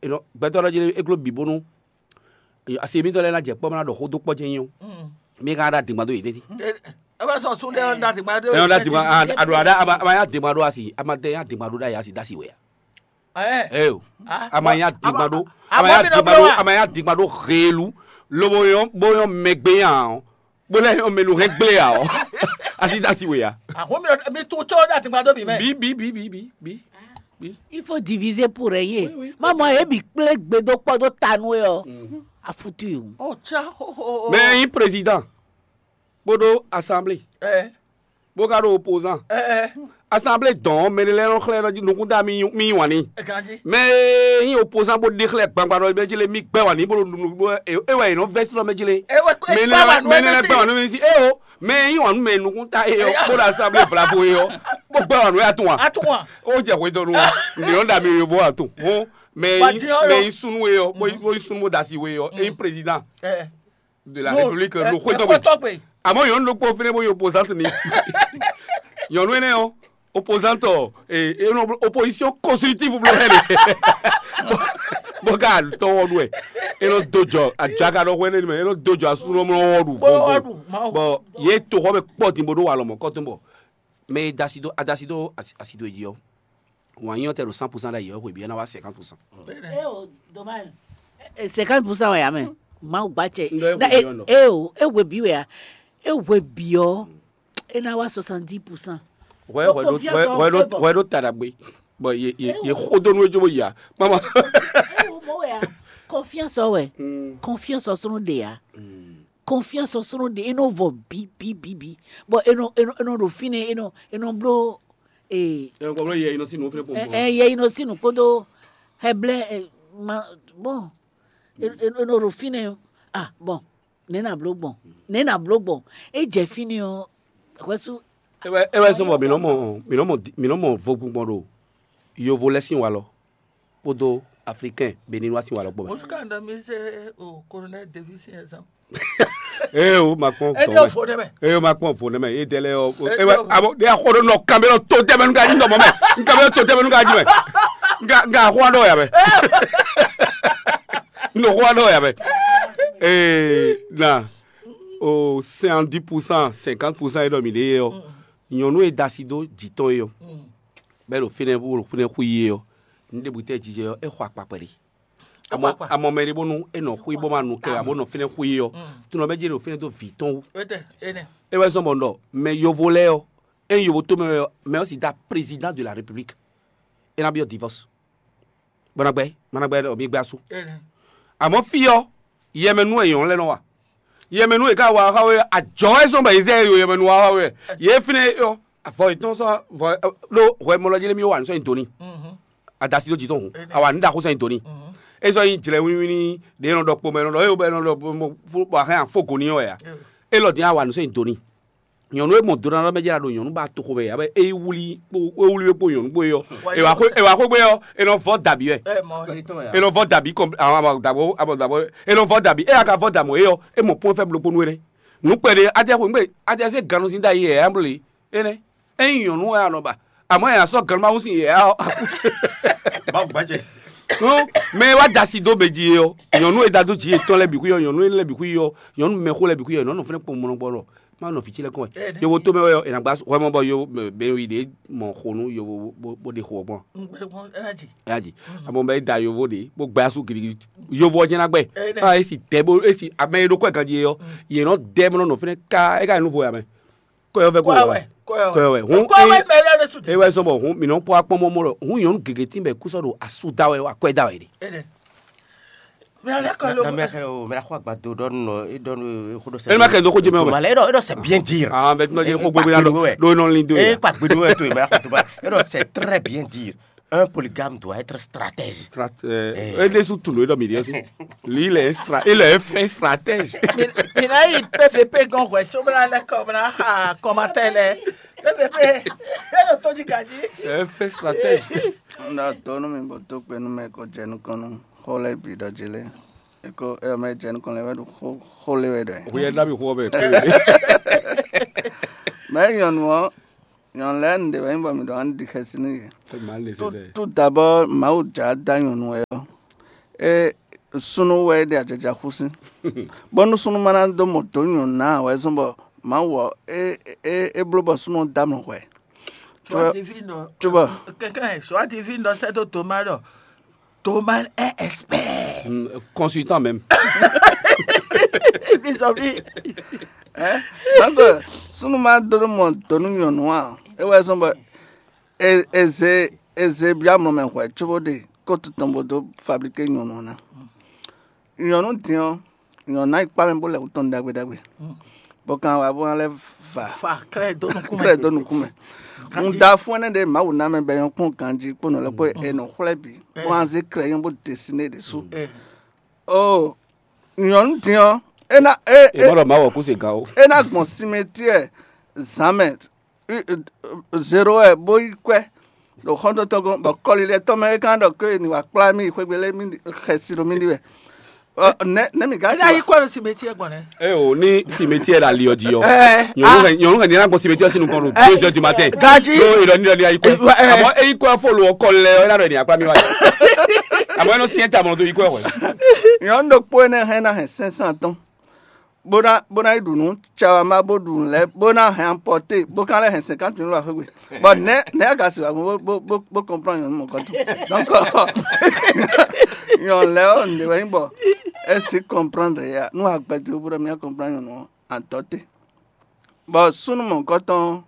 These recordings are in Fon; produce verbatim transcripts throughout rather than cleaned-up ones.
Gbɛtɔ́ lɔ jí é gló bǐ bónú asi mitɔn lɛ́ɛ ná jɛ kpɔ́ bó ná ɖɔ xó dó kpɔ́ jɛ́n nyí ɔ́, mi ka ná ɖo adǐngban dó yě tɛ́ntin? É bɛ sɔn sun ɖé ɔ́ ɖo adǐngban ɖó. Ɛ ɔ́ ɖo adǐngban. Aɖo aɖa ama nyí adǐngban ɖó asi ama tɛ nyí adǐngban ɖó ɖ'ayǐ asi dó asi wɛ a? Ɛ o, ama nyí adǐngban ɖó ama nyí adǐngban ɖó ama nyí adǐngban ɖó heelu, lobo nyɔ́ bó nyɔ́ mɛgbé nya ɔ́, bó lɛ́ nyɔ́ mɛ nu hɛn gblé ǎ ɔ́, asi dó asi wɛ a? Ahun mi mi tún tsɔ ɖo adǐngban ɖó bǐ mɛ. Bí bí bí bí bí bí. Il faut diviser pour régner. Maman, e bi kplé gbe dó kpɔ́ dó ta nú é ɔ́, a foutu. Oh tsa ho ho. Mɛ nyí président kpódó assemblée, bó ka ɖo opposant. Assemblée dɔn ɔ́, mɛ ɖé lɛ́ɛ nɔ xlɛ́ nɔ jí nukún ta mì yí wǎn n'i. Mɛ e nyí opposant bó ɖe xlɛ́ gbangba ɖɔ mɛ jí lé mì gbɛ́ wǎn n'i bó ɖo nunu bó é wɛ è nɔ vɛ́ sínɔ mɛ jí lé. Mɛ énɛ́ lɛ́ gbɛ́ wǎn nú mì sí é o. Mɛ e nyí wǎn nú mɛ nukún ta é ɔ́, bó ɖo assemblée vlavo é ɔ́, bó gbɛ́ wǎn nú é atún a? Ó jɛ hwedɔnu ɔ́, nǐ nɔ ɖa mì yovo atún. Hɔn mɛ e nyí súnnu é ɔ́, bó nyí súnnu bó da asi we é ɔ́, é nyí président de la république ɖo xwé tɔn gbe. Àmọ́ nyɔ̌nu ɖokpó fínɛ́ bó nyí opposante ni. Nyɔ̌nu énɛ́ ɔ́, opposante ɔ, opposition constructive bló hɛn ɖe. Bó ka tɔwɔ ɖu ɛ, é nɔ dó jɔ ajaga ɖɔ hwɛ nɛni mɛ, é nɔ dó jɔ asúnɔmlɔ wɔ ɖu vɔvɔ. Bɔ yě toxɔ mɛ kpɔ din bó ɖó walɔ mɔ̌ kɔ́tɔn bɔ mɛ e da asi dó, a da asi dó asi dó e jí ɔ́, wǎn nyí ɔ́ tɛ ɖo cent pour cent ɖ'ayǐ ɔ́, hweví ɔ́ ná wá cinquante pour cent. Eo dommage. Cinquante pour cent wɛ ya mɛ. Mawu gba cɛ. Ndo e hwe bi ɔn. Eo e hwe bi wɛ ya. E hwe bi ɔ, e ná wá soixante-dix pour cent. Hwɛ hwɛ ɖo hwɛ ɖo hwɛ ɖo ta ɖagbe. Bɔ ye ye ye xo dó nú e jó bó yi a. Mama. Ewo mɔ wɛ ya. Confiance ɔ wɛ. Confiance ɔ sɔnɔ ɖe ya. Confiance ɔ sɔnɔ ɖe e nɔ vɔ bi bi bi bi. Bɔ e nɔ e nɔ e nɔ ɖo fínɛ e nɔ e nɔ bló. Ee. Ɛ kɔ bló yɛ inɔ sí nù fínɛ pɔnpɔn. Ɛ yɛ inɔ sí nù kpódó hɛblɛ ɛ ma bɔn e e e nɔ ɖo fínɛ ah bɔn nɛ na bló gbɔn nɛ na bló gbɔn e jɛ fínɛ ɔ hwɛsú. É wɛ é wɛ sɔn bɔ mǐ nɔ mɔ mǐ nɔ mɔ mǐ nɔ mɔ vogbingbɔn ɖo yovo lɛ́ sín wa lɔ kpódó aflikɛn beninois sín wa lɔ kpó mɛ. Oṣù kan dɔ mi ṣe o colonel Davis yẹn zan. Ee o ma kpɔn Ẹ vɔ jẹ́ mɛ. Òfò dẹ́mẹ̀. Ee o ma kpɔn òfò dẹ́mẹ̀. Ee dɛlɛ ɔ. Ẹ Ee jẹ́ wa òfò. Abo de akɔdo nɔ kanbɛ lɔ to tɛmɛ nu ka di nɔ mɔ mɛ. Nka bɛ to tɛmɛ nu ka di mɛ. Nka nka akɔ dɔ ya mɛ. Nɔ akɔ dɔ ya mɛ. Ee na o cinquante pour cent cinquante pour cent e dɔ mi de ye ɔ. Nyɔnu e da asi do jitɔ ye ɔ. Bɛ ɖo fínɛ bó ɖo fínɛ xú ye ɔ. Nu ɖe bu tɛ jijɛ ɔ e xɔ akpakpɛ de. Amɔ amɔ mɛ ɖé bónú é nɔ xwí bó ma nu kɛ abo nɔ fínɛ́ xwí ɔ́, tunɔ mɛ jɛ ɖo fínɛ́ dó vǐ tɔn wú. É wɛ zɔ́n bɔ un ɖɔ mɛ yovo lɛ́ɛ ɔ́, ényí yovo tó mɛ wɛ ɔ́, mɛ ɔ́ sì dá président de la république. É ná byɔ́ divorce. Bɔ ná gbɛ́ má ná gbɛ́ ɖɔ mí gbɛ́ asú. Amɔ̌ fí ɔ́, yɛmɛnú wɛ nyɔ̌nu lɛ́ɛ nɔ wa. Yɛmɛnú e ka wa xá we, ajɔ wɛ zɔ́n bɔ yě zɛ yo yɛmɛnú wa xá we. Yě fínɛ́ ɔ́, avɔ yětɔn sɔ́ vɔ ɖó hwɛ mɔ lɔ jí lé mí wa nǔ sɔ́ nyi do n'i. Adasi ɖó jǐ tɔn hǔn, awa nǔ ɖaxó sɔ́ nyi do n'i. É sɔ́ nyí jlɛ wínwín ɖě nɔ ɖɔ kpomɛ nɔ ɖɔ é bɔ é nɔ ɖɔ bɔ a hɛn afó go n'i ɔ́ wɛ a? É lɔ din awa nǔ sɔ́ nyi do n'i. Nyɔ̌nu e mɔ do ná ɖɔ mɛ jɛ ɖo nyɔ̌nu ba toxo mɛ abe é wlí kpó é wlí kpó nyɔ̌nu kpó é ɔ́. È wǎ xwé gbé ɔ́, é nɔ vɔ dǎbí wɛ. É nɔ vɔ dǎbí kɔn abɔ dǎbɔ abɔ dǎbɔ é nɔ vɔ dǎbí é aka vɔ dǎmɔ é ɔ́, é mɔ pɔ́n fɛ́ blokponu é nɛ́. Nǔ kpɛɖé adé xwé gbé adé sɛ́ gannú sín dá yi ɛ amble. Énɛ́. Ényí nyɔ̌nu wɛ a nɔ ba, amɔ̌ nya sɔ́ gannú sín yɛ ɔ́. Mawu gbɛ́jɛ. Mɛ e wá da asi dó mɛ jí é ɔ́, nyɔ̌nu e da dó jǐ yětɔn lɛ́ɛ bǐ xwí ɔ́, nyɔ̌nu lɛ́ɛ bǐ xwí ɔ́, nyɔ̌nu mɛxó lɛ́ɛ bǐ xwí ɔ́, nyɔ̌nu fínɛ́ kpɔn mɔnɔ gbɔ ɖɔ má nɔ fí ci lɛ́ɛ kɔn wɛ. Yovo tómɛ wɛ ɔ́, è nǎ gbá hwɛ mɔ bɔ yo bɛnwi ɖě mɔ xo nú yovo bó ɖe xo ɔ́ gbɔn. Ɛ́ ya ji. Amɔ bɛ da yovo ɖě bó gbɛ asú gidigidi. Yovo ɔ́ jɛ́n ná gbɛ. Ká esi tɛ bó esi amɛ e ɖó kɔ́ ganjí é ɔ́, yě nɔ dɛ mɔ nɔ fínɛ́ ká é ká nyí nú vo ya mɛ. Kɔyɔ vɛ kó Kɔyɔ wɛ, wɛ. Kɔyɔ wɛ. Hun Kɔyɔ wɛ mɛ lɛ de su. E wɛ sɔn bɔ hun mi nɔ kpɔ akpɔ mɔ mɔ lɔ hun nyɔnu gege tí bɛ kú sɔ ɖo asu da wɛ wa kɔɛ da wɛ de. Ene. Mi ale kɔ lo. Na mi akɛ o mi la xɔ agbado dɔ nɔ e dɔ nɔ e xo dɔ sɛ. Ene ma kɛ do ko jɛ mɛ o. Ma lɛ e dɔ e dɔ c'est bien dire. Ah bɛ tuma jɛ ko gbogbo na dɔ do nɔ lin do. E pa gbedo wɛ to e ma xɔ to ba e dɔ c'est très bien dire. Un polygame doit être stratège. Edesu tun ɖo ɖɔ mi ɖi ɔsi. Li le stra il est fait stratège. Mina yi P V P gɔn hwɛ tso bla lɛ kɔ bla ha kɔmatɛ lɛ. P V P e ɖo to jí gaji. C'est un fait stratège. Na to nu mi bo to kpe nu mɛ ko jɛ nukɔn nu xo lɛ bi dɔ dzi lɛ. Eko e mɛ jɛ nukɔn lɛ wɛ ɖo xo xo lɛ wɛ dɛ. Huyɛ da mi xo bɛ kpe. Mɛ nyɔnu ɔ nyɔnu lɛ nu de wɛ nyí bɔ mi ɖɔ an ɖi xɛsi nú yɛ. Tout d'abord Mawu dza da nyɔnu wɛ ɔ. É súnnu wɛ é ɖe ajaja xú sín. Bónú súnnu ma ná dó mɔ dǒ nyɔ̌nu ná ǎ wɛ zɔ́n bɔ Mawu ɔ́, é é é bló bɔ súnnu ɔ́ dó amlɔ hwɛ. Cóbɔ cóbɔ Kɛnklɛ́n, Joie divine ɖɔ sɛ́ dó Thomas ɖɔ Thomas est expert. Consultant même. Bisɔbi. Ɛ donc súnnu ma dó mɔ dǒ nú nyɔ̌nu ǎ. É wɛ zɔ́n bɔ è è zě è zě byɔ́ amlɔ mɛ hwɛ cóbó ɖe kótu tɔn bó dó fablíké nyɔ̌nu ɔ́ ná. Nyɔ̌nu din ɔ́, nyɔ̌nu ná yi kpá mɛ bó lɛ wǔ tɔn ɖagbe ɖagbe, bó kan wá bó ná lɛ́ va Fa klɛ dó nukún klɛ mɛ. Dó nukún mɛ. Un da fún ɛnɛ ɖe Mawu ná mɛ bɛ nyɔ́ kpɔ́n ganjí kpó nɔ lɛ́ kpó è nɔ xwlɛ́ bǐ bó ná zé klɛ nyɔ́ bó desiné ɖě sú. Eh, Oh, nyɔ̌nu din ɔ́, é ná é é Èmɔ ɖɔ Mawu ɔ́ kú se gǎn ó. É ná gbɔn simetiɛ zǎn mɛ zero wɛ bó yi kwɛ́ ɖo xɔ́ntɔ́ntɔ́ gɔ́n bɔ kɔlilɛ tɔn mɛ é ka ɖɔ ké ni wá kplá mì xwégbe lé mì xɛsi ɖo mì ɖi wɛ. Ɔ, nɛ nɛ mi gá Ena yi kɔ ɖo simetiɛ gbɔn nɛ. E o ní simetiɛ ɖo ali ɔ jí ɔ. Ɛ, Nyɔnu hɛn nyɔnu hɛn ní ná gbɔn simetiɛ sín nukɔn ɖo deux heures du matin. Gaji. Ɖó ìlọ ní ìlọ ní ayikɔ. Ɛ, ɛ. Àmọ́ eyikɔ fò lò ɔkọ lɛ ɔ é ná ɖɔ ní akpá mi wá. Àmọ́ ẹnu siɛn ta mɔ̀nà tó yikɔ ɛ hwɛ. Nyɔ̌nu ɖokpó énɛ́ hɛn ná hɛn cinq cent tɔn bó ná bó ná yi ɖu nǔ cawama bó ɖu nǔ lɛ́ɛ bó ná hɛn amporté bó ka lɛ́ hɛn cinquante mille wá xwégbe. Bon, nɛ̌ nɛ̌ a ka se wǎ gbɔn bó bó bó comprendre nyɔ̌nu mɔ̌kɔtɔn? Donc nyɔ̌nu lɛ́ɛ ɔ́ nǔɖé wɛ nyí bɔ é si comprendre ya nú agbɛdó bó ɖɔ mía comprendre nyɔ̌nu ɔ́ antɔ́ te. Bɔ súnnu mɔ̌kɔtɔn ɔ́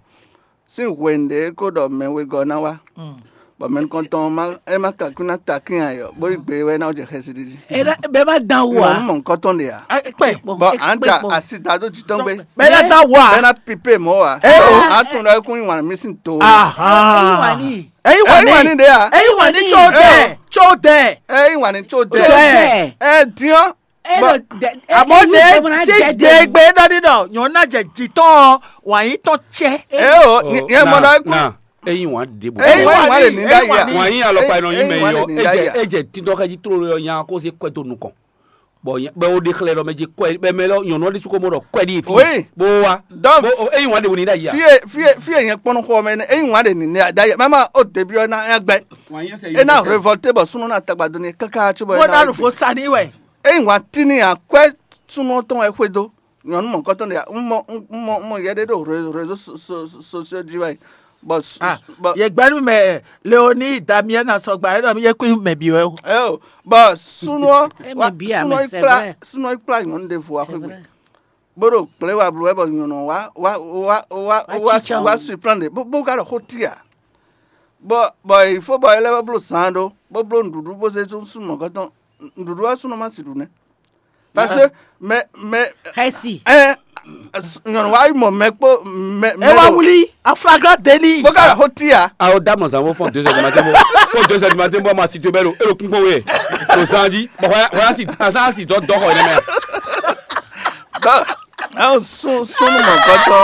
sín hwenu ɖě é ko ɖɔ mɛ wegɔ́ ná wá, bɔ mɛ nukɔntɔn ɔ́ má é má kakún ná takín ayɔ bó yi gbe wɛ ná jɛ xɛsi ɖiɖi. Era bɛ ma dan wo Mɔ a. mɔ nukɔntɔn ɖe a. Kpɛ. Bɔ à ń da Kpekpo. Asi da dó jitɔn gbé. Bɛ na da wo a. Bɛ na pipe mɔ wa. Eh, o. A tún ɖɔ ekun yi wan mi sin to. Aha. Wani. Eyi Eyi wani. wani ɖe a. Eyi wani tso dɛ. Tso dɛ. Eyi wani tso Tso dɛ. dɛ. Ɛ diɔn. Elo dɛ. Àmọ́ ní tí gbẹgbẹ dání dọ̀ yàn náà jẹ jìtọ́ wàyí tán tsẹ́. Ɛ o yẹn mɔ ɖɔ ekun. Na eyin wan ɖe bɔ. Eyi wani wani le ní dá yà. Wan yin alɔkpa yɛ nɔ yin mɛ Eyi wani yɔ le ní dá edze yà. Edze tindɔ xɛ ji tro yɔ nya kó se kɔɛ to nukɔn. Bɔn bɛ o de xlɛ lɔ mɛ dzi kɔɛ bɛ mɛ lɔ nyɔnu ɔdi suko mɔ ɖɔ kɔɛ di fi. Oui. Bo wa. Donc Bo o eyin wan ɖe bo ni ɖe ayi a. Fie fie fie yẹn kpɔnɔ xɔ mɛ ne eyin wan ɖe ní dá yà mama o débi ɔ na yà gbɛ. E na révolté bɔ sunu na tagba doni kaka tso bɔ Mo na nu fo sa ní wɛ. Eyin wan tini akwɛ sunu tɔn wɛ xwe do nyɔnu mɔ kɔtɔn de ya n mɔ n mɔ n mɔ yɛ ɖe ɖo réseau sociaux dzi wɛ bɔ Yɛ gbɛnu mɛ Leoni Damien na sɔgba e ɖɔ mi yɛ kpé mɛ bi wɛ o. Eo bɔ sunu ɔ Emi wa bia sunu mɛ, ɔ c'est kpla vrai. Sunu ɔ kpla nyɔnu ɖe vo C'est axwegbe vrai. bó ɖo gblé wa bló wɛ bɔ nyɔnu ɔ wa wa wa wa Wa wa tsitsɔ. Wa surprendre bó bó ka ɖo xó tia bɔ bɔ il faut bɔ ele bó bló zan ɖó bó bló nuɖuɖu bó zé tún sunu mɔ gɔtɔn nuɖuɖu wa sunu ma si ɖu nɛ parce que mɛ mɛ Hɛsi. ɛ nyɔnu wa yi mɔ mɛ kpó mɛ mɛ E wa ɖo- wuli a flagrant délit. bó ka ɖo xó tia Awo da mɔ zan fo fɔn deux heures du matin bo fo deux heures du matin bo ma si to bɛ lo elo kún kpɔn wɛ to zan di bɔn hɔn hɔn si azan si dɔ dɔ xɔ yɛ mɛ. Bɔn ɛn sun sunu mɔ gɔtɔ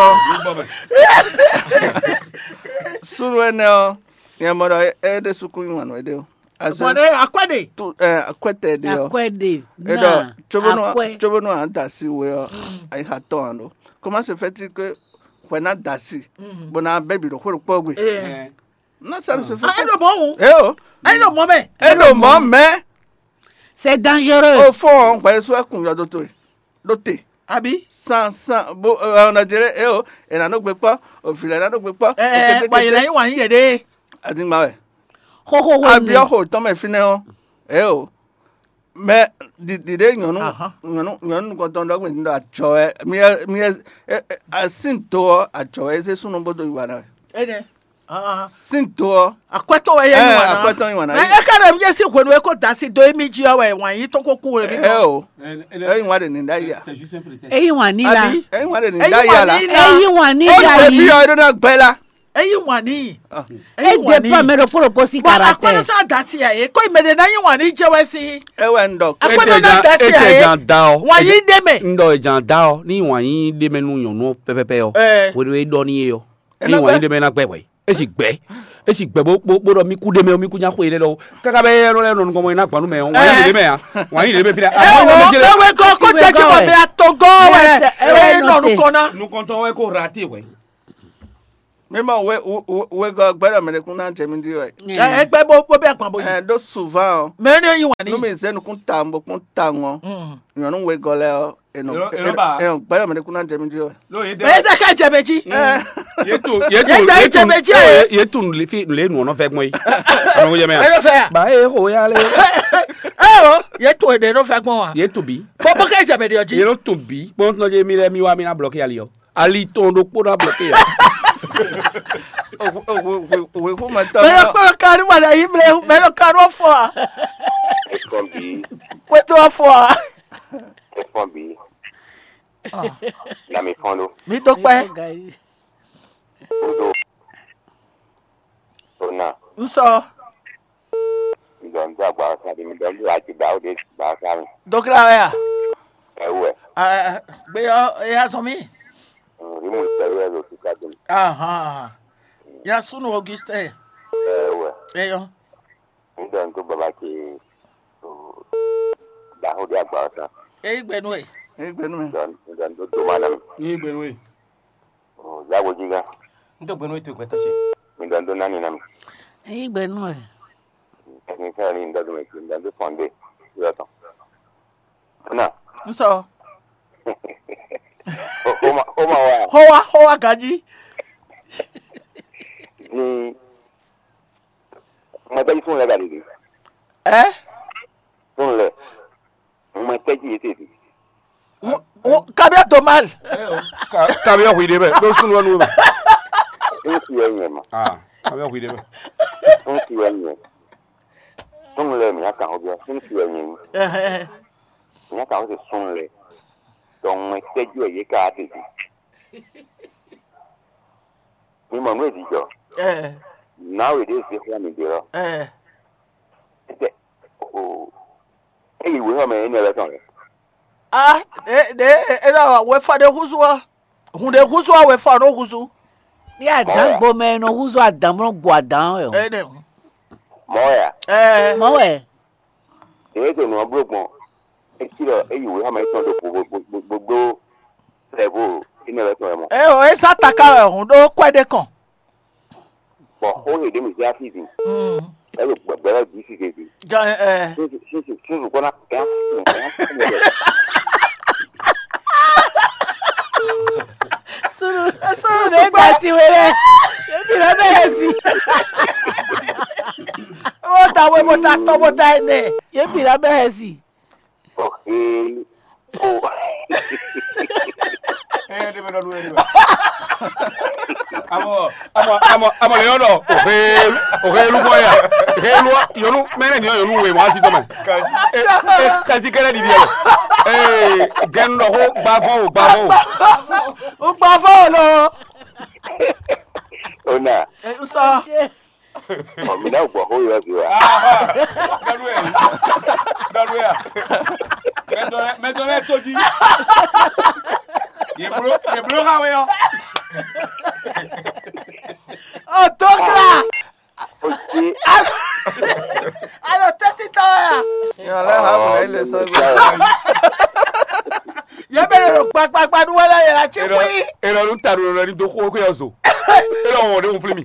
sunu ɛnɛ ɔ nyɛ mɔ ɖɔ e ɖe sukun yi wàn wɛ ɖe o azɔ Bɔn ne akwɛ de. Tu ɛ akwɛtɛ ɖe ɔ Akwɛ de. eɖɔ Na. Tsobonu Akwɛ. Tsobonu an da si we ɔ ayi ha tɔn an ɖo comment se fait-il que hwɛ na da si bó na bɛ bi ɖo xwé ɖokpɔ gbe Ee. Na sa se Ah, fait e ɖo mɔ wu. E o E ɖo mɔ mɛ. E ɖo mɔ mɛ C'est dangereux. O fɔ hwɛ so ɛkun yɔ do to do te Abi. San san bo ɛ ɔnɔ jere e o e na nɔ gbe kpɔ o fi lɛ na nɔ gbe kpɔ o Ɛɛ kete bɔn yɛlɛ kete yi wa yi yɛ de. Adigba wɛ Xoxo Abiɔ wɛ. xo tɔn mɛ fi nɛ ɔ e o mɛ dide nyɔnu Ahan. Nyɔnu nyɔnu nukɔntɔn ɖɔ gbɛn ɖɔ adzɔ wɛ mi ɛ mi ɛ ɛ ɛ sin to ɔ adzɔ wɛ eze sunu bo do yi wa na wɛ E nɛ. Ah, sin to ɔ akwɛtɔ wɛ yɛ yi ɛ wa na. Akwɛtɔ yi wa na Ɛ ɛ ka ɖe mi yɛ si hwenu eko da si do emi ji ɔ wɛ wa yi tɔn ko ku wɛ mi ɛ nɔ. O ɛ yi wa de ni da yi a Eyi wani la. Abi ɛ yi wa de ni Ɛ yi da yi a la wa ni la. Eyi wani O la de bi yi. Ɔ yi do na gbɛ la E yi wa ni. Ah. E yi E wa de ni. pa mɛ ɖo kpolo kpo si Bɔn karate. Akɔnɔ sa da si a ye ko yi mɛ de na yi wa ni jɛ wɛ si. Ɛ wɛ n dɔ Akɔnɔ Ete na jan da si a ete ye. jan da ɔ. Wa yi de mɛ. N dɔ jan da ɔ ni wa yi de mɛ nu nyɔnu pɛpɛpɛ ɔ. Ɛ. Wo de dɔ ni ye ɔ. Ɛ Ni na wa yi gbɛ. de mɛ na gbɛ wɛ. Esi gbɛ. Esi gbɛ bo bo bo dɔ mi ku de mɛ o mi ku nya xo yi de dɔ o. Kaka bɛ yɛ lɛ nɔ nukɔmɔ yi na gbanu mɛ o. Wa yi de mɛ ya. Wa yi de mɛ fi la. Ɛ wo ewe kɔ ko jɛ jɛ wɔ mɛ ato gɔ wɛ. Yes, ɛ, Ɛ ɛ, nɔ note. nukɔ na. Nukɔntɔ wɛ ko rate wɛ. Mi mɔ we we we gɔ gbɛdɔ mɛ ɖe kún ná jɛ mi ɖi wɛ. Ɛ, ɛ gbɛ bó bó bɛ gbɔn bó yi. Ɛ ɖó souvent ɔ. Mɛ ní yí wà ní. Nú mi zé nukún ta bó kún ta ŋɔ. Mm. Nyɔnu we gɔ lɛ ɔ. Eno Eno- eno ba. Eno gbɛdɔ mɛ ɖe kún ná jɛ mi ɖi wɛ. Lo ye Mɛ dɛ. Tɛ ká jɛ bɛ jí. Ɛ. Ye tu ye tu Ye ta ye ye tu jɛ bɛ jɛ. Ye ye tu le fi le nu ɔnɔ fɛ gbɔn yi. Ɔnɔ wo jɛ mɛ. Eno fɛ ya. Ba e ho ya le. Ɛ o, ye to ene no fɛ gbɔn wa. Ye tu bi. Bó bó ká jɛ bɛ ɖi ɔ Ye jí. No tu bi. Kpɔn tɔn je mi lɛ mi wa mi na blɔki ali ɔ. Ali tɔn ɖokpó ná blɔki ya. Òwe kó ma tán. Mɛ lɔ kpɔlɔ kanu wà lɛ yí mlɛ mɛ lɔ kanu fɔ a. Efɔn bi, Kpɛtɔ fɔ a. Efɔn bi, na mi fɔn ɖo. Mi dó kpɛ. Kudo, ona, N sɔ. Mi dɔ n do agba sa mi dɔ n do ati da o de ba sa mi. Dókítà wɛ a. Ɛ wɛ, Ɛ, gbé yɔ eya sɔn mi. Ri mu sɛ yɛ lo sika dum. Ahan. Ya sunu Augustin. Ɛ wɛ, Eyɔ. Mi dɔ n do baba ke, o, da o de agba sa. Eyi gbɛnu e. Eyi gbɛnu mi. Dɔ n do do ma na mi. Ní gbɛnu e. O, da o jiga. N tó gbɛnu e to gbɛtɔ ce. Mi dɔ n do nani na mi. Eyi gbɛnu e. Technicien ni n dɔ do mi, mi dɔ n do fɔnde. Yɔ tɔn. Na. N sɔ. O, o ma, o ma wa. Xɔ wa xɔ wa ganji. Ni, ma bɛ yi sun lɛ ga de. Ɛ. Sun lɛ. Mo ma tɛ́ jí yě tete. Kabia domal. Kabia hwi ɖe bɛ ɖo sunu ɔnu bɛ. N ti yɛ nyɛ ma. Ah, kabia hwi ɖe bɛ. N ti yɛ nyɛ. Sunu lɛ mi aka hɔ bia. N ti yɛ nyɛ. Mi aka hɔ se sunu lɛ. Donc mo ma tɛ́ jí yɛ ka tete. Mi mɔ nú e jijɔ. Ɛ. Nawe ɖe ze xlɛ́ mi ɖe ɔ. Ɛ. Tɛ o. Eyi wěxɔ mɛ énɛ́ lɛ́ɛ tɔn lɛ. A e ɖe e ɖɔ wefɔ ɖe húzú ɔ, hun ɖe húzú ɔ wefɔ ɖo húzú. Ní adǎn gbomɛ e nɔ húzú adǎn bó nɔ gbɔ adǎn wɛ o. Ɛ ɖe hun. Mɔ wɛ a? Ɛ. Mɔ wɛ. Eye to nɔ bló gbɔn. Esi ɖɔ eyi wěxɔ mɛ étɔn ɖo gbogbogbogbo. Sɛvo énɛ́ lɛ́ɛ tɔn wɛ mɔ. Ɛ o, e sá taká wɛ hun ɖó kwɛ ɖé kɔn. Bɔ xó he ɖě mǐ zé así din. Mm. Ɛ ɖo gbɛgbɛ lɛ́ɛ bǐ sí gěgé. Gan ɛ. Súnzù súnzù súnzù kɔ́ ná gán gán gán. Sunu sunu ne gba ti we lɛ. Ebi lɛ bɛ yɛ si. Wo ta we bo ta tɔ bo ta ene. Ebi lɛ bɛ yɛ si. Ɔhɛli. O. Ɛ ɖe bɛ ɖɔ ɖu ɛ ɖe bɛ. Amɔ amɔ amɔ amɔ le yɔ ɖɔ. Ohelu ohelu bɔ ya. Helu yɔnu mɛnɛ ni yɔnu we mɔ asi tɔmɛ. E e kasi kɛlɛ ɖiɖi yɛ. Ee gɛnu ɖɔ ko gbavɔ o gbavɔ o. O gbavɔ o lɔ. Ona. Nsɔ. Ɔ, mi ná gbɔ xó yɔ zi wa. Dɔdue dɔdue a. Mɛtɔ lɛ mɛtɔ lɛ to jí. Yeblo yeblo ha wɛ yɔ. Ɔ tó kla. Alo tɛtitɔ ya. Yàn lẹ́ hàn mí lẹ́yìn lè sọ gbé. Yẹ bẹ lọ gbagbagbadu wẹlẹ yẹ la tsi kpí. Èrò ọdún tàdó lọ ní dókòwò kó yọ zò. Èrò ọ̀hún ọ̀dẹ́ òun fúnmi.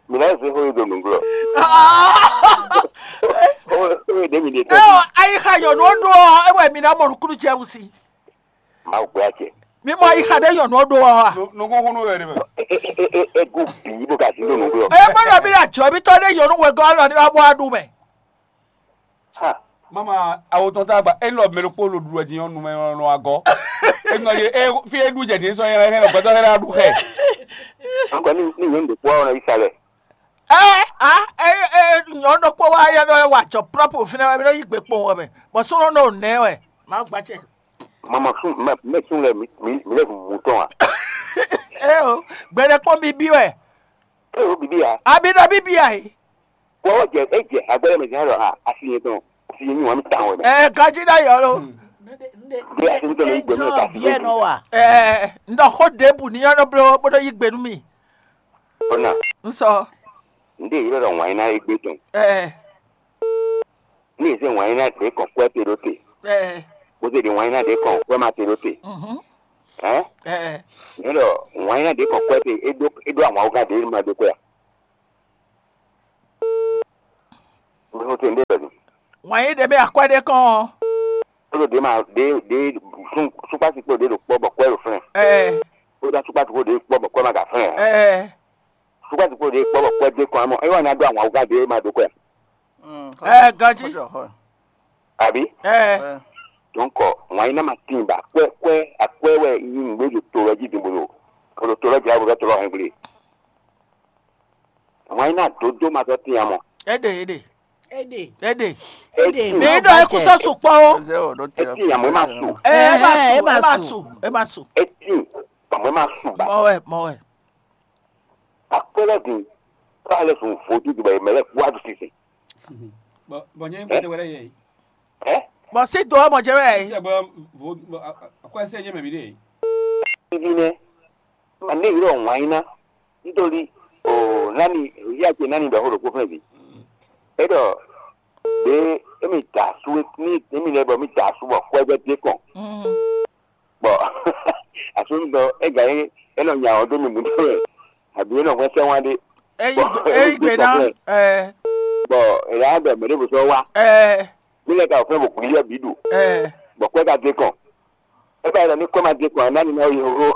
Mi náà ṣe fún ìdòmí gbọ́. Ó ó èdè mi lè tọ́. Ẹ ọ ayi ha yọ n'o do ọ ẹ wẹ mi na mọ nukunu jẹ wusi. Má gbé àjẹ. Mi mọ ayi ha de yọ n'o do ọ wa. Nukun kunu wẹ de mẹ. Egu bìí bó ka sí lónìí gbọ́. Ẹ gbọ́dọ̀ bí àjọ ibi tọ́ de yọ n'o wẹ gọ́ lọ ní wàá bọ́ adùn mẹ. Ha. Mama, awo tɔn tá a gba, e lɔ mɛ ɖokpó lo ɖu wɛ din ɔ́, numɛ nɔ agɔ. E nɔ ye e fi e ɖu jɛ din sɔ yɛ hɛn gbɛtɔ hɛn ɖu xɛ. An kɔni ni nyɔnu ɖokpó ɔ́ nɔ yi sa lɛ. Ɛ a ɛ ɛ nyɔnu ɖokpó wa ya nɔ wa jɔ prɔpu fínɛ wɛ mi nɔ yi gbe kpɔn wɛ mɛ, bɔ sɔnɔ nɔ nɛ wɛ, ma gba cɛ. Mama sun mɛ mɛ sun lɛ mi mi mi lɛ mu tɔn a. Ɛ o, gbɛɖɛ kpɔn mi bi wɛ. E o bibi a. Abi nɔ bi bi a yi. Bɔ jɛ e jɛ agbɛlɛ mɛ jɛ lɔ ha asi yɛ tɔn asi yɛ nyi wɔn mi ta wɔn mɛ. Ɛ gaji na yɔ lo. Bí a ti ń tẹ̀lé ìgbẹ́ mi ò bá ti Biɛ lójú. Nɔ wa. Ɛ ndɔ xɔ debu ni yɔ nɔ blo bó nɔ yi gbenu mi. Ọ̀nà Nsɔ. Ndé yìí lọ́dọ̀ wọ̀nyí ná égbé tɔn. Ɛ Ní ìsín wọ̀nyí ná dé kàn kwẹ́ te ló te. Ɛ Bó ṣe di wọ̀nyí ná dé kàn kwẹ́ má te ló te. Mhm. Hɛn? Ɛ, ɛ. Nyɛ ɖɔ wǎn nyanya ɖě kɔ kwɛ te, é ɖó é ɖó ahwan wúgán ɖě ma ɖó kwɛ a? Mɛ ko te ɖé bɛ nu. Wǎn yí ɖě mɛ akwɛ́ ɖé kɔn ɔ́. Ó ɖo ɖě ma ɖě ɖě sún súkpásí kpo ɖě ɖo kpɔ́ bɔ kwɛ ɖo flɛ́n. Ɛ, Ó ɖo súkpásí kpo ɖě kpɔ́ bɔ kwɛ ma ka flɛ́n. Ɛ, Súkpásí kpo ɖě kpɔ́ bɔ kwɛ ɖě kɔn amɔ é wà ná ɖó ahwan wúgán ɖě ma ɖó kwɛ. Ɛ, ganjí. Àbí? Ɛ, Donc wǎn nyanya ma tín ba kwɛ kwɛ akwɛ́ wɛ nyí nǔgbé ɖo to lɔ jí din bolo. Bolo to lɔ jí abo ɖɔ to lɔ hɛn gblé. Wǎn nyanya dodó ma sɔ́ tín amɔ. Éɖe éɖe Ede. Éɖe. Ede. Mɛ ɖɔ é kú sɔ́ sukpɔ́ ó. Ezi o ɖo te. Eti yamɔ ma su. Ɛ, ɛ ma su, ɛ ma su, ɛ ma su. Eti yamɔ ma su ba. Mɔ wɛ, mɔ wɛ. Akpɛlɛ di. K'ale sun vodu di bɛ mɛ lɛ kua du sisi. Bɔn bɔn nyɛ kpɛtɛ wɛrɛ yɛ. Ɛ? Bɔn si do ɔmɔ jɛ wɛ. Sɛ bɔ vo bɔ akwɛsɛ nyɛ mɛ bi de. Ibi nɛ. Ma ne yɔrɔ wanyina. Nítorí o nani yíyá ce nani ɖɔ xó ɖokpó fɛn bi. É ɖɔ ɖě émi da asú ní émi lɛ́ɛ bɔ mì da asú bɔ xwɛ́gbɛ́ dé kɔn. Bɔ asúnudɔ é gǎ é é nɔ nya ɔ́ dó mi mǔtɔn wɛ, àbí é nɔ hwɛ́n sɛ́n wá ɖé. Eyi Bɔ gbe eyi gbe ná. Ɛ, Bɔ è ɖǎ ɖɔ mɛ ɖěvo sɔ́ wá. Ɛ, Mí lɛ́ ka wɔ fɛ́n bɔ kùlí yɛ bǐ ɖu. Ɛ, Bɔ kwɛ́ ka dé kɔn. É ba yi ɖɔ ní kwɛ́ ma dé kɔn ǎ, ná ní ná yi hó.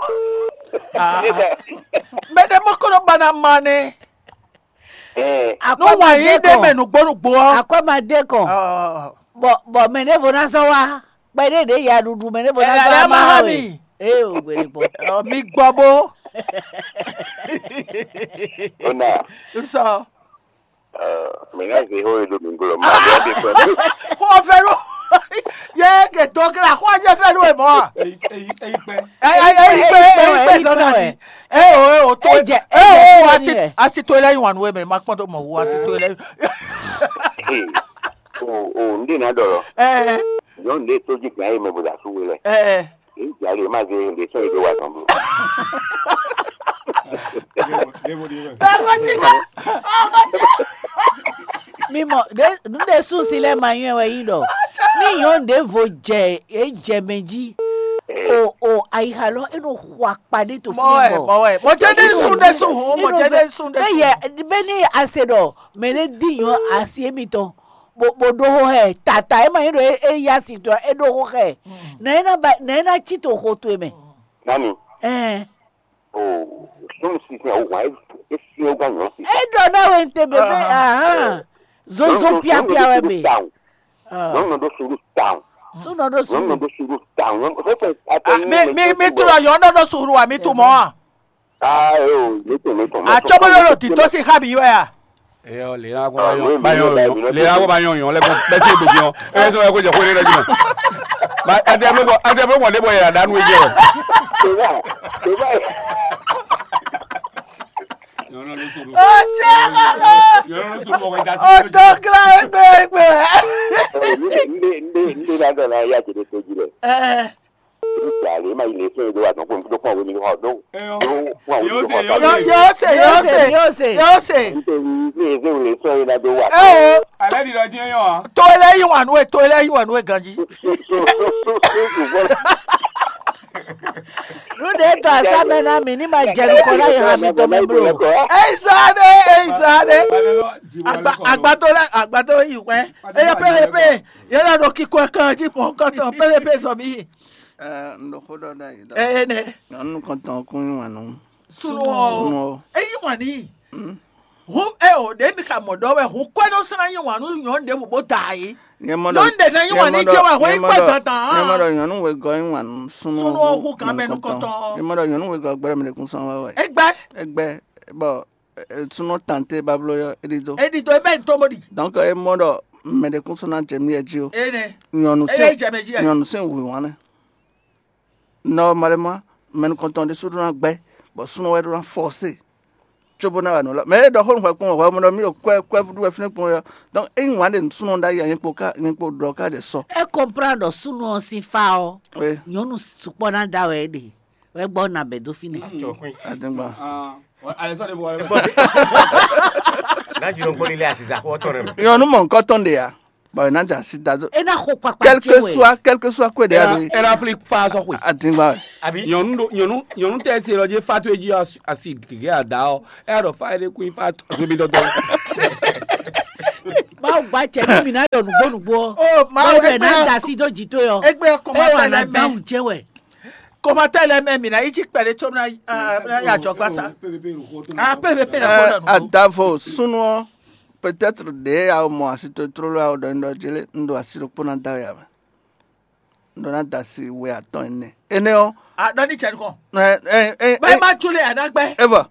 Ah. Mɛ ɖé mɔ kɔnɔ ba ná ma nɛ. Ɛ, Nú wǎn yí ɖé mɛ nǔgbó nǔgbó ɔ́. Akwɛ́ ma dé kɔn. Ɔ, Bɔ bɔ mɛ ɖěvo ná zɔ́ wá. Kpɛɖé ɖě ya ɖuɖu mɛ ɖěvo ná Ɛ, zɔ́ ɛ wá má má há há mi. Mi. Ee o gběɖé gbɔ. Ɔ, mi gbɔ bó. Ó nà. Nsɔ. Mɛ ná zé xó e ɖo mi gblɔ ma ɖɔ ɖe kpɛ. Xó fɛ ɖo. Yé ke dɔ kla xó jɛ fɛ ɖo e mɔ. Eyi eyi eyi kpɛ. Ɛ ɛ ɛ yi kpɛ ɛ yi kpɛ zɔn na di. Ɛ o ɛ o to Ɛ jɛ- ɛ ɛ jɛ o fún asi ẹni rẹ̀. Asi to lɛ yi wan nu eme ma kpɔn to mɔ wu asi to lɛ. Ee, o o n ɖe na ɖɔ lɔ. Ɛ Nyɔnu ɖe tó jí gbɛn ayi mɛ bó da sú we lɛ. Ɛ Èyí jà lè má zé lè sɔn ìdó wa tán bro. Ɔmɔ ti ká. Ɔmɔ ti. Mi mɔ ɖe nu ɖe sunsi lɛ ma nyɔɛ wɛ yi ɖɔ. Ni nyɔnu ɖe vo jɛ e jɛ mɛ jí. O o ayiha lɔ e nɔ xɔ akpa ɖe to Mɔ wɛ, mɔ wɛ. Mɔ jɛ ɖe sun ɖe sun hun, mɔ jɛ ɖe sun ɖe Be sun. Yɛ be ni ase ɖɔ mɛ ɖe di nyɔ asi emitɔn. Bo bo ɖo xo hɛ tata e ma nyí ɖɔ e yá si tɔ e ɖo xo xɛ. Nɛ e na ba nɛ e na cí to xo towe mɛ. Nani? Ɛn. O sun sisin awu hwan e e sin o gan nyɔ si. E ɖɔ na we n te bebe ahan. Zozo piapia wɛ be. Nyɔnu ɖo suru down. Sunɔ ɖo Nyɔnu suru. Ɖo suru down. Nyɔnu fɛn fɛn. Ah, mi mi mi tu lɔ yɔn ɖɔ ɖo suru wa mi tu mɔ a. Ah, yo, mi tun mi tun. Atsɔbɔlɔ ɖo tito si xa bi wɛ a. Eyɔ le la kɔ ba yɔn ba yɔn yɔn le la kɔ ba yɔn yɔn lɛ gbɔn bɛ se gbedi yɔn e bɛ sɔ ko jɛ ko ne lɛ jumɛn. Ba ɛdɛ bɛ bɔ ɛdɛ bɛ bɔ ne bɔ yɛ da nu e jɛ. Toma, toma. Ọjọ́ ọ̀dọ́gba ẹgbẹ́ ẹgbẹ́. Nde nde nde na dɔ na ya jede to ji lɛ. Ẹ Nígbà lè má ilé fún ìlú wa dán fún ìdúró fún àwọn ènìyàn wa dán. Yóò ṣe yóò ṣe yóò ṣe yóò ṣe yóò ṣe. Nítorí ní ezé wòlé sọ yìí ládó wà. Ẹ o Alẹ́ di lọ dín yàn án. Tó eléyìí wà nú ẹ tó eléyìí wà nú ẹ ganjí. Lúdé tó asámẹ́ ná mi ní ma jẹ nukọ láyé hàn mi tó mẹ́ bro. Èyí sáadé èyí sáadé. Àgbà àgbà tó lẹ àgbà tó yìí wẹ. Eyẹ pé eyẹ pé yẹn lọ dọ kíkọ ẹ kàn jí mọ kọtọ pé eyẹ pé sọ mí. Ɛ, n ɖo xó ɖɔ ɖ'ayǐ ɖɔ. Ɛ ɛ nɛ. Nyɔnu kɔntɔn kún yí wǎn nú. Sunɔ Sunɔ. Eyi wǎn ní. Mm. Hun ɛ o ɖe mi ka mɔ ɖɔ wɛ hun kwɛ nɔ srán yí wǎn nú nyɔnu ɖe mo bó da yí. Nyɛ mɔ ɖɔ Nyɔnu ɖe na yí wǎn ní jɛ wɛ hun yi kwɛ dandan. Nyɛ mɔ ɖɔ nyɔnu wegɔ yí wǎn nú sunɔ. Sunɔ hu kan mɛ nú kɔntɔn. Nyɛ mɔ ɖɔ nyɔnu wegɔ gbɛɖɛ mi ɖe kún sɔn wɛ wɛ. Egbɛ. Egbɛ bɔ sunɔ tante bablo yɔ eɖi do. Eɖi do ebe ntɔmɔ ɖi. Donc e mɔ ɖɔ mɛ ɖe kún sɔn na jɛ mi yɛ jí o. Ene. Nyɔnu Eye sin jɛ mɛ jí yɛ. Nyɔnu sin hu wǎn nɛ. Normalement, mɛ nukɔntɔn ɖésú ɖó ná gbɛ́, bɔ súnnu wɛ ɖó ná fɔ́sé, cóbó ná wa nǔ lɔ. Mɛ e ɖɔ xó nú hwɛ kpɔ́n hwɛ mɔ ɖɔ mí ɖo kwɛ kwɛ ɖu wɛ fínɛ́ kpɔ́n ɔ́, donc ényí wǎn ɖe súnnu ɖ'ayǐ ǎ, nyɛ kpo ká nyɛ kpo ɖɔ ká ɖe sɔ. É comprend ɖɔ súnnu ɔ́ sín fá ɔ́, Oui. Nyɔ̌nu sukpɔ́ ná da wɛ é ɖe, wɛ gbɔ ná bɛ dó fínɛ́. Adégbà. Alexandre bɔ wale. N'a dzi nɔ gbɔn lé asiza xɔ tɔn ɖe. Nyɔ̌nu mɔ nukɔntɔn ɖe ǎ. Bɔ è nǎ da asi da dó. É ná xo kpakpa Quel ce que wɛ. Soit, quel que soit kwé ɖé a ɖo yi. Era fli fa sɔ xwe. Adingba wɛ. Àbí? Nyɔnu ɖo nyɔnu nyɔnu tɛ se lɔ dzi fa to edzi asi gege ada ɔ. Ɛ ɖɔ fa ɖe kun fa to so bi dɔdɔ. Mawu gba cɛ ní mi ná ɖɔ nǔgbó nǔgbó ɔ. Oh, Mawu, Báwo ɛ ná egbe- da sí dó jì tó yɔ. Egbe Ɛ wà kɔmatɛ ná lɛ mɛ. Dáhùn jẹ́ wẹ̀. Kɔmatɛ lɛ mɛ mi na yi dzi kpɛɖe tso na ya jɔ gbasa. Ah, pépépé na kɔ na nù. Adavo súnú ɔ, peut-être ɖe awo mɔ asi to tlóló awo ɖɔ un ɖɔ jele un ɖo asi ɖokpó ná da ya mɛ. Un ɖɔ ná da asi we atɔn ɛnɛ. Énɛ́ ɔ́, Ah, dɔ ni cɛ nukɔ. ɛ ɛ ɛ Bɛɛ ma tsu le anagbɛ. Evɔ,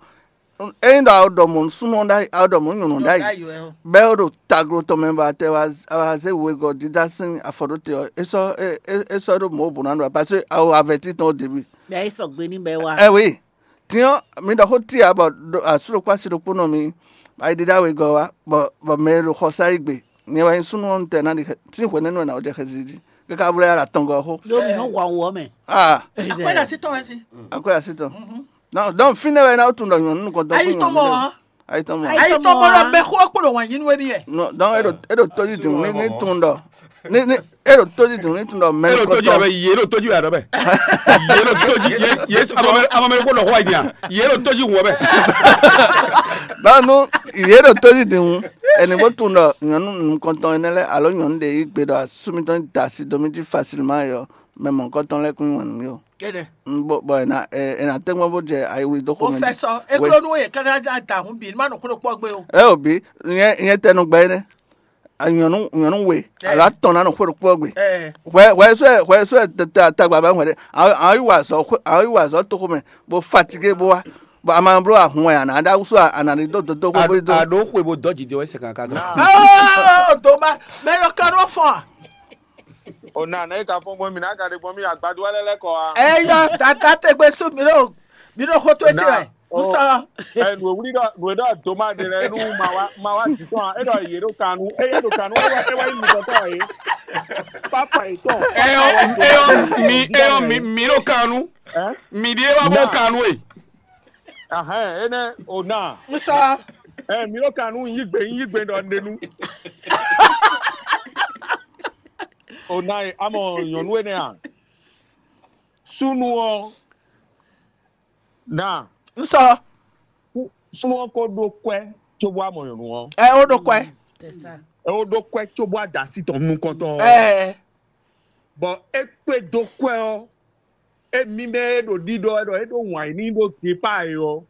eyin ɖɔ awo ɖɔ mɔ súnú ɔ ɖ'ayi, awo ɖɔ mɔ nyɔnu ɖ'ayi. Bɛ o ɖo taglo tɔn mɛ ba tɛ wa wa zé wegɔ dídá sín afɔ ɖó te ɔ, é sɔ́ é é é sɔ́ ɖó mɔ̌ bǔ ná ɖo a, parce que awo avɛtí tɔn ó débí. Bɛ é sɔgbe ní bɛ wá. Ɛ wi, tiɲɔ mi ɖɔ xó tia bɔ ɖo asú ɖokpó asi ɖokpó nɔ mi ayi ɖíɖá wegɔ wa bɔ bɔ mɛ e ɖo xɔsá yi gbe. Nyɛ wɛ nyí súnú ɔ́, un tɛ ná ɖi xɛ- sín hwɛ̌ nɛ́ nú wɛ ná wó jɛ xɛsi jí. Káká blɛ́ yá ɖo atɔngɔ́ xó. Yóò mi nú hwan wɔ mɛ. Ah, Akwɛ na si tɔn wɛ si. Akwɛ asi tɔn. Non, donc fínɛ́ wɛ ná tún ɖɔ nyɔ̌nu nukɔntɔn Ayi tɔn mɔ. Ayi tɔn mɔ. Ayi Ayi tɔn tɔn mɔ mɔ lɔ a? Bɛ xó kpɔɖɔ wà nyinu wɛ ni yɛ. Non, donc e ɖo e ɖo tóji dùn ní ní tún ɖɔ ní ní e ɖo tóji dùn ní tún ɖɔ mɛ Elo tó jí nukɔntɔn. Abɛ yé elo tó jí Abɛ. Yé elo tó jí yé yé amamɛ amamɛ kó lɔ xɔ ayi dia. Yé elo tó jí wɔ bɛ. Báwo nú yě ɖo tóji dùn ɛni bó tún ɖɔ nyɔ̌nu nukɔntɔn énɛ́ lɛ́ɛ alo nyɔ̌nu ɖě yí gbe ɖɔ asú mitɔn da asi dó mì jí facilement yɔ mɛ mɔ̌hunkɔtɔn lɛ́ɛ kún nyí wǎn nú mì ó. Kɛnɛ. Un bó bɔ è nǎ è è nǎ tɛ́ gbɔn bó jɛ ayiwi dó xomɛ jí. Professor, eklo nu ye kana ja da hun bi ma no klo kpɔ gbe o. Ɛ ò bí nyɛ nyɛ tɛnu gbɛ énɛ́. Nyɔ̌nu nyɔ̌nu we Ɛ. alo atɔn ná nɔ xwé ɖokpó gbe. Ɛ. Hwɛ hwɛ sɔ́ ɛ hwɛ sɔ́ ɛ tata tagba bá hwɛ ɖe. Àwọn àwọn yìí wà zɔ xwé àwọn yìí wà zɔ tó xomɛ bó fatigué bó wá. Bɔ a ma bló ahun wɛ a nǎ ɖá wúsú a nǎ ní dó dódó xó bó dó. Aɖo xwe bo dɔ dzi de wɛ sɛ kankan. Oh, doma, mɛ lɔ ka ɖo fɔn. O na ne ka fɔn gbɔn mi na ka ɖe gbɔn mi agbadu wale lɛ kɔ a. Eyɔ tata tegbe su mi ɖo mi ɖo xo to esi wɛ. N sɔ. Ɛ nu wuli dɔ nu dɔ doma de lɛ nu ma wa ma wa di tɔn e dɔ ye ɖo kanu e ye ɖo kanu e wa e wa yi mi tɔtɔ ye. Papa yi tɔn. Eyɔ eyɔ mi eyɔ mi mi ɖo kanu. Ɛ Mi ɖie wa bɔ kanu e. Ahɛn ene o na. N sɔ. Ɛ mi ɖo kanu yi gbe yi gbe dɔ ne nu. O na ye amɔ nyɔnu ene a. Sunu ɔ. Na. N sɔ. Sunu ɔ ko ɖo kwɛ tso bɔ amɔ nyɔnu ɔ. Ɛ o ɖo kwɛ. C'est ça. Ɛ o ɖo kwɛ tso bɔ adasi tɔn nukɔntɔn ɔ. Ɛ. Bɔ e kpe dó kwɛ ɔ emi mɛ e ɖo ɖiɖɔ ɛ ɖɔ e ɖo wǎn yi ní ɖo depa e ɔ.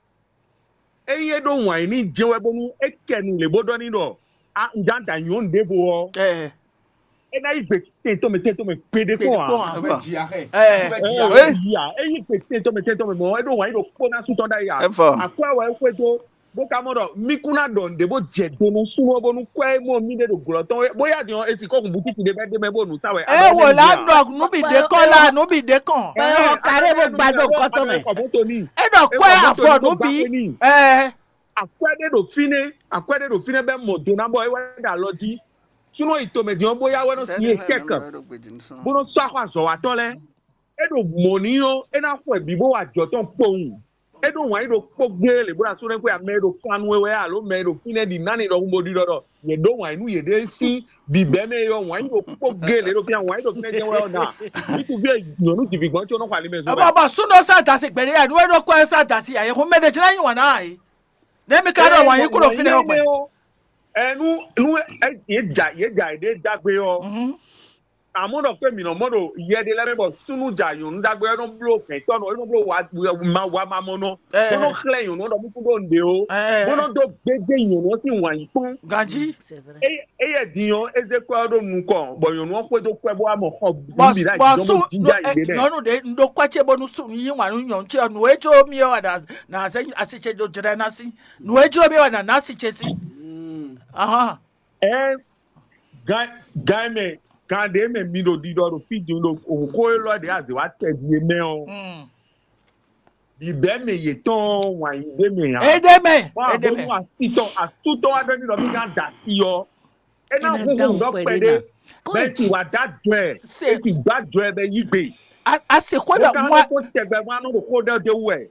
Eye e ɖo wǎn yi ní jɛn wɛ bónú e kɛ nu lě bó ɖɔ ní ɖɔ a un ján da nyɔ̌nu ɖěvo ɔ. Ɛ. E ná yi gbe tɛntɔn mɛ tɛntɔn mɛ gbeɖe kpɔn a. Kpɔn a. Bɛ dzi axɛ. Ɛ. Ɛ Ɛ. yi a e yi gbe tɛntɔn mɛ tɛntɔn mɛ mɔ e ɖo wǎn yi ɖo kpó ná sútɔ ɖ'ayǐ a. Ɛ fɔ. Akwɛ wɛ e xwedó bó ka mɔ ɖɔ mí kún ná ɖɔ nǔɖé bó jɛ do nú súnnu ɔ́ bónú kwɛ́ e mɔ mí ɖé ɖo glɔ̌ tɔn wɛ bóyá din ɔ́ e ti kɔ́ hun butiki ɖé bɛ́ ɖé mɛ bó nǔ sa wɛ. E wò la ɖɔ nú bǐ ɖe kɔn la nú bǐ ɖe kɔn. Ɛ ɔ kàɖé bó gbadó nǹkan tɔn mɛ. Kɔ mọ́tò ní. E ɖɔ kɔ́ ɛ avɔ nú bǐ. Ɛ. Akwɛ́ ɖé ɖo fínɛ́ akwɛ́ ɖé ɖo fínɛ́ bɛ́ mɔ do ná bɔ é wá ɖo alɔ jí. Súnnu yi tomɛ din ɔ́ bóyá wɛ nɔ sí yé kɛkɛ bó nɔ sɔ́ axɔ azɔ̌watɔ́ lɛ́ɛ. É ɖo mɔ̌ ní ɔ́ é ná xɔ bǐ bó wa ajɔ tɔn kpowun. É ɖo wǎn yí ɖokpó gbé lě bó ɖo asú lɛ́ɛ xwé amɛ e ɖo kan nú we wɛ alo mɛ e ɖo fínɛ́ ɖi ná ni ɖɔhun bó ɖiɖɔ ɖɔ yě ɖó wǎn yí nú yěɖée sín bǐbɛ́ mɛ é ɔ́ wǎn yí ɖokpó gé lě ɖo fínɛ́ wǎn yí ɖo fínɛ́ jɛ́n wɛ ɔ́ ná. Ŋutsuví e nyɔ̌nu jivǐgbɔ́n có nɔ xɔ ali mɛ zɔn Ɔbɔ bɔ súnnu sá dasi gbɛɖé ya nú é ɖo kɔ ɛ sá dasi ya yě hun mɛ ɖe jlá yí wǎn ná yí. Nɛ́ mi ka ɖɔ wǎn yí kúrò fínɛ́ ɔ́ gbɛ. Ɛ nu nu ɛ yě dza yě dza yě ɖe dagbe ɔ́. Àmọ́ ɖɔ pé mǐ nɔ mɔ ɖo yɛ ɖé lɛ́ɛ mɛ bɔ súnnu ja nyɔ̌nu ɖagbe ɔ́ nɔ bló vɛ̌tɔ́ nɔ é nɔ bló wa ma wa ma mɔ nɔ bó nɔ xlɛ́ nyɔ̌nu ɔ́ ɖɔ mú kú ɖó nǔɖé ó bó nɔ dó gbéjé nyɔ̌nu ɔ́ sín wǎn yí kpɔ́n. Ganjí. C'est vrai. Éyɛ́ din ɔ́ é zé kwɛ́ ɔ́ ɖó nukɔn bɔ nyɔ̌nu ɔ́ xwedó kwɛ́ bó wá mɔ xɔ Bɔ bǐ ɖo bɔ àyíjọ́ sú bó jíjá yě ɖé mɛ. nyɔnu ɖe n ɖo kɔ ce bónú sú yí wǎn nú nyɔ̌nu ce ɔ́ nǔ e jló mì é wɛ na na zɛ asi ce ɖo jlɛ́ ná sí nǔ e jló mì é wɛ na ná asi ce sí. Ahán. Ɛ gan gan mɛ gan ɖé mɛ mi ɖo ɖiɖɔ ɖo fí din ɖo xó élɔ́ ɖě azě wá tɛ ɖi é mɛ ɔ́. Bǐbɛ́ mɛ yětɔn wǎn yí ɖé mɛ ǎ. Éɖé mɛ Bɔn éɖé mɛ. Àbónú asítɔ asútɔ aɖe ní lɔ mí ná da sí ɔ. É ná É ná hu dá hùn ɖɔ òkú ẹ̀ pɛɖé dé nà. bẹ́ẹ̀ ti wà dá jọ ẹ̀ Ṣé- é ti gbá jọ ẹ̀ bẹ́ẹ̀ yí gbé. Àsìkò Ó dọ̀ ká mọ́ ló kó tẹgbẹ́ mọ́ anú ɖo kó ɖɔ dé wú ẹ̀.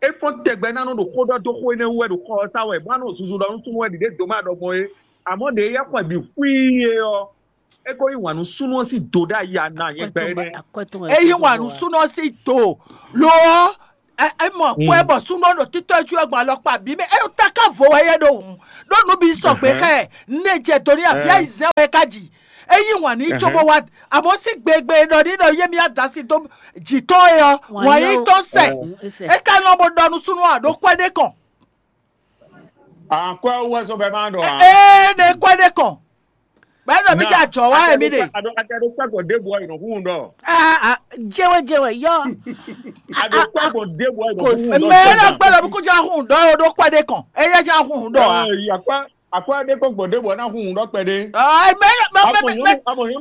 É fɔ́n tẹgbẹ́ náà nɔ ɖo kó ɖɔ dó xó énɛ́ wú ẹ̀ ɖo xɔ ɔ́ sá wɛ bó anɔ susu ɖɔ nú súnmọ́ ẹ̀ ɖiɖé dó má ɖɔ gbɔn é. Àmọ́ ɖě yɛ xwɛ bǐ xwíí é ɔ́, é ko yí wǎn nú súnnu ɔ́ sín do ɖ'ayǐ a nǎ nyɛ gbɛ énɛ́. É yí wǎn nú súnnu ɔ́ sín do, lo ɔ́, é mɔ kwɛ bɔ súnnu ɔ́ ɖo títɔ́ jú ɛ gbɔn alɔkpa bǐ mɛ, é ta ká vo wɛ yɛ ɖo hǔn, ɖó nǔ bǐ sɔgbe xá ɛ, nɛ jɛ do ní avǐ ayizɛ́n wɛ é ka ji. É yí wǎn n'i cóbó wá, àmọ́ sín gbegbe e ɖɔ ní ɖɔ yé mì adasi dó jǐ tɔn é ɔ́, wǎn yí tɔn sɛ. É ka nɔ bó ɖɔ nú súnnu ɔ́ ɖó kwɛ́ ɖé kɔn. Akwɛ wɛ sɔ bɛ ma ɖɔ a. Ee ne kwɛ ɖe kɔn. Bɛ nɔ mi ja jɔ wa yɛ mi de. Ado ake do kpɛ gbɔ de bɔ yi nɔ hun dɔ. Jewe jewe yɔ. Ado kpɛ gbɔ de bɔ yi nɔ hun dɔ. Mɛ nɔ gbɛ nɔ mi ko ja hun dɔ o do kwɛ ɖe kɔn. Eya ja hun dɔ a. Yakpa akwɛ de kɔ gbɔ de bɔ na hun dɔ kpɛ de. Mɛ mɛ mɛ mɛ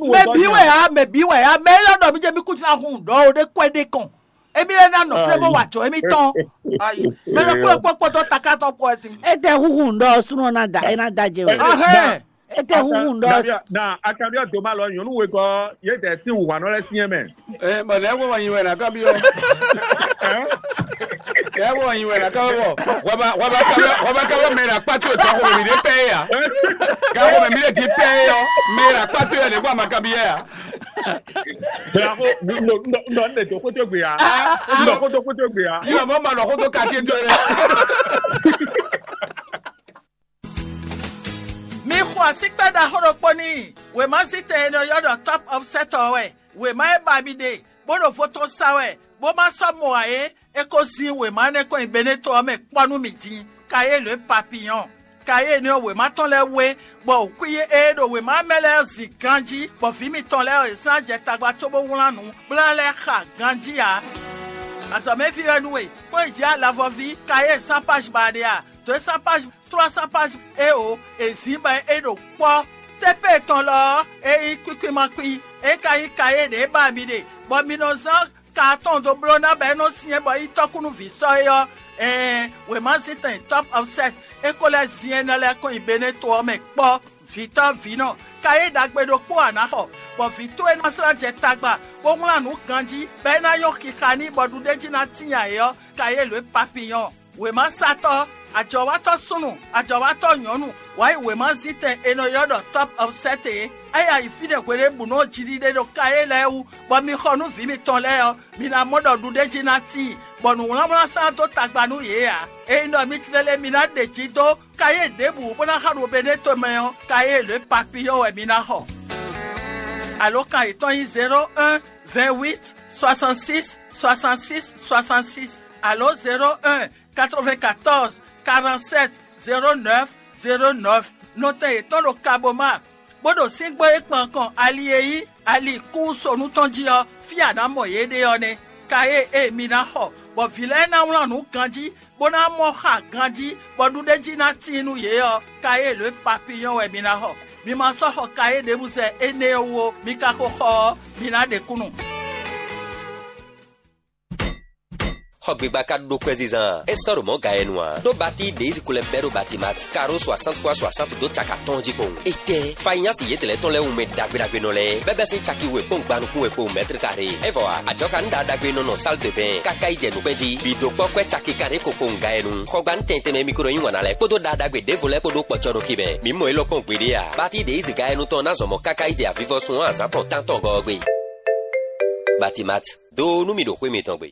mɛ bi wɛ ya mɛ bi wɛ ya mɛ nɔ dɔ mi jɛ mi ko ja hun dɔ o de kwɛ ɖe kɔn. Emi lɛ ná nɔ flévo wà jɔ emi tɔn. Ayi, mɛ lɔ kplɔ́ kpɔ́kpɔ́ tɔn taká tɔn kpɔ ɛ sin. Ete huhu ŋdɔ sunɔ na da ena da jɛ wɛ. Ɔhɛn. Ete huhu ŋdɔ. Na akabia doma lɔ nyɔnu we kɔ ye tɛ si wùwà nɔ lɛ siɛ mɛ. Ɛ bɔn lɛ wɔ yin wɛ na kabi yɔ. Ɛ wɔ yin wɛ na kabi bɔ. Waba waba kabi waba kabi mɛ na kpatu tɔ ko mi de pɛ ya. Ka ko mi de di pɛ yɔ. Mɛ na kpatu yɔ de ko a ma kabi yɛ ya. Bla ko n dɔ n dɔ n dɔ n dɔ xótó gbe ya. N dɔ xótó xótó gbe ya. Yíyá mɔ ma nɔ xótó kàkí dó rẹ. Mi xo asíkpɛ́ ɖaxó ɖokpó n'i. Wěma zítɛn e nɔ ylɔ́ ɖɔ Top of Set ɔ́ wɛ. Wěma e ba mi ɖe, bó ɖo vo tɔn sa wɛ, bó ma sɔ́ mɔ ǎ é, é ko zin wěma énɛ́ kɔn nyi Beneto ɔ́ mɛ kpɔ́ nú mì din. Kayélu e papiyɔn. Kayélu ɔ́ wěma tɔn lɛ́ɛ wé, bɔ xwí e ɖo wěma mɛ lɛ́ɛ zin ganjí, bɔ vǐ mitɔn lɛ́ɛ ɔ́, yě slán jɛ tagba cóbó wlán nǔ, bó ná lɛ́ xa ganjí ǎ. Azɔ̌mɛví wɛ nú we, kplɔ́n yi jǐ alavɔví, Kayélu sán páj ba ɖe a? Dǒ e sán páj trois cents pages é o, è zǐn bɔ é ɖo kpɔ́. Tépée tɔn lɔ ɔ́, é nyí kwíkwímakpí, é ka nyí kayé ɖě ba mi ɖe, bɔ mi nɔ zán ka atɔn dó bló ná bɔ é nɔ́ syɛ́n bɔ é nyí tɔ́kúnúví sɔ́ é ɔ́, ɛɛn, wěma zítɛn Top of Set é ko lɛ́ zin énɛ́ lɛ́ɛ kɔn nyi Beneto ɔ́ mɛ kpɔ́. Vǐtɔ́ vǐnɔ, kayé ɖagbe ɖokpó a nǎ xɔ, bɔ vǐ towe ná slá jɛ tagba, bó wlán nǔ ganjí, bɔ é ná nyɔ́ xixa n'i bɔ ɖuɖéjí ná tíin ayǐ ɔ́, kayé lǒ e papiyɔn. Wěmasatɔ́, ajɔ̌watɔ́ súnnu, ajɔ̌watɔ́ nyɔ̌nu, wǎ yi wěmazítɛn è nɔ ylɔ́ ɖɔ Top of Set é. É yi ayǐ fínɛ́ hweɖěbǔnu ɔ́ jiɖiɖe ɖo kayé lɛ́ɛ wú, bɔ mi xɔ nú vǐ mitɔn lɛ́ɛ ɔ́, mi ná mɔ ɖɔ ɖuɖéjí ná tíin, bɔ nǔwlánwlán sán dó tagba nú yě ǎ. Ényí ɖɔ mi tlélé mi ná ɖe jǐ dó kayé ɖěbǔ bó ná xa ɖo Beneto mɛ ɔ́, kayé lě papiyɔ́ wɛ mi ná xɔ. Alǒkan yětɔn nyí zéro un, vingt huit, soixante six, soixante six, soixante six, alǒ zéro un, quatre vingt quatorze, quarante sept, zéro neuf, zéro neuf. Nɔtɛn yětɔn ɖo Kaboma, bó ɖo síngbó e kpan kɔn ali e nyí ali kúnsonu tɔn jí ɔ́, fí a nǎ mɔ yě ɖe ɔ́ nɛ́. Ka e e mi ná xɔ, bɔ vǐ lɛ́ɛ ná wlán nǔ ganjí, bó ná mɔ xa ganjí, bɔ ɖuɖéjí ná tíin nú yě ɔ́, ka e lǒ e papiyɔ́n wɛ mi ná xɔ. Mi ma sɔ́ xɔ ka e ɖěbǔ zɛ énɛ́ ɔ́ wú ó, mi ka ko xɔ ɔ́, mi ná ɖe kúnnu. Xɔ gbigba ka ɖó kwɛzizan a? É sɔ́ ɖo mɔ̌ ga yɛ nu ǎ. Ɖó batí ɖě yi ko lɛ́ bɛ́ ɖó Batimat, karo soixante fois soixante dó caka tɔn jí kpowun. Étɛ́! Fanyási yětɛn lɛ́ɛ tɔn lɛ́ɛ wú mɛ ɖagbe ɖagbe nɔ lɛ́ɛ, bɛ́bɛ́ sín caki we kpɔ́n gban nukún we kpowun mɛ́tri karé. É vɔ ǎ, ajɔ̌ ka ní ɖaɖa ɖagbe nɔ nɔ sál de bɛn káká yi jɛ nǔkpɛ́n jí. Bǐ dó kpɔ́ kwɛ́ caki kanɖé ko kpowun ga yɛ nu. Xɔgbánú tɛn tɛnmɛ mi ko nɔ yí wǎn ná lɛ́ɛ kpódó ɖaɖa ɖagbe ɖěvo lɛ́ɛ kpó ɖó kpɔ́cɔ́ ɖó kí mɛ. Mǐ mɔ élɔ́ kpɔ́n gbeɖé ǎ. Batí ɖě yi zǐga yɛ nu tɔn ná zɔn mɔ̌ káká yi jɛ avivɔsun ɔ́ azǎn tɔn tántɔn gɔ́ ɔ́ gbe. Batimat, dó nú mì ɖo xwé mitɔn gbe.